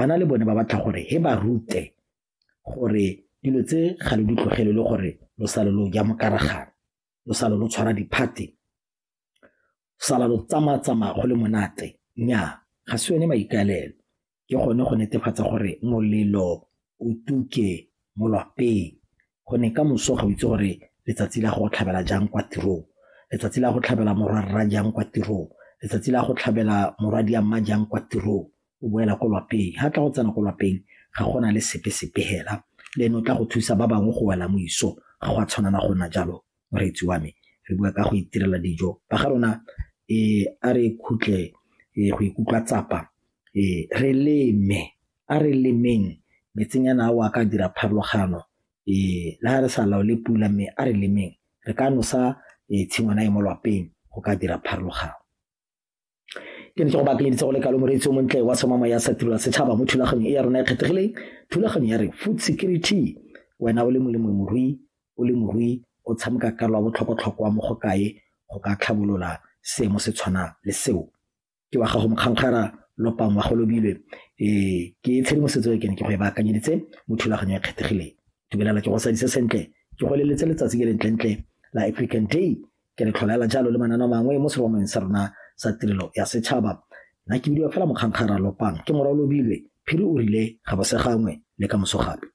Bana le bone ba batla gore he ba rute gore dilo tse ga le di tlogele le gore lo sale lo ja mokaragana, lo sale lo tshwara di-party, sala lo tsamaya-tsamaya go le monate. Nnyaa, ga se yone maikaelelo, ke gone go netefatsa gore molelo o tuke mo lwapeng gonne ka moso ga o itse gore letsatsi la go tlhabela jang kwa tirong, letsatsi la go tlhabela morwarra jang kwa tirong, letsatsi la go tlhabela morwadia mma jang kwa tirong, o boela ko lwapeng. Ha tla go tsena ko lwapeng ga gona le sepe-sepe hela, le ene o tla go thusa ba bangwe go wela mo isong, ga go a tshwanela go nna jalo moreetsi wa me. Re bua ka go itirela dijo ba ga rona a re khutle go ikutlwa tsapa re leme, a re lemeng metsenyana ao a ka dira pharologano le ha re sa laole pula mme a re lemeng re ka nosa tshingwana e mo lwapeng go ka dira pharologano. Ke ne ke go baakanyeditse go le kalo moreetsi o montle wa somama ya sa tirelo setšhaba mo thulaganyong e ya rona e kgethegileng, thulaganyo ya re food security. Wena o le molemo morui, o le morui o tshameka karolo ya botlhokwa-tlhokwa mo go kae go ka tlhabolola seemo se tshwana le seo. Ke wa gago Mokgankgara Lopang wa Golobilwe, ke tshedimosetso e ke ne ke go e baakanyeditse mo thulaganyong e kgethegileng. Dumelela ke go sadise sentle, ke go eleletse letsatsi ke lentlentle la African Day, ke re tlholela jalo le mananeo mangwe mo seromong sa rona sa tirelo ya setšhaba. Nna ke bidiwa fela Mokgankgara Lopang, ke morwa Lobilwe, Phiri o rile ga bo se gangwe le ka moso gape.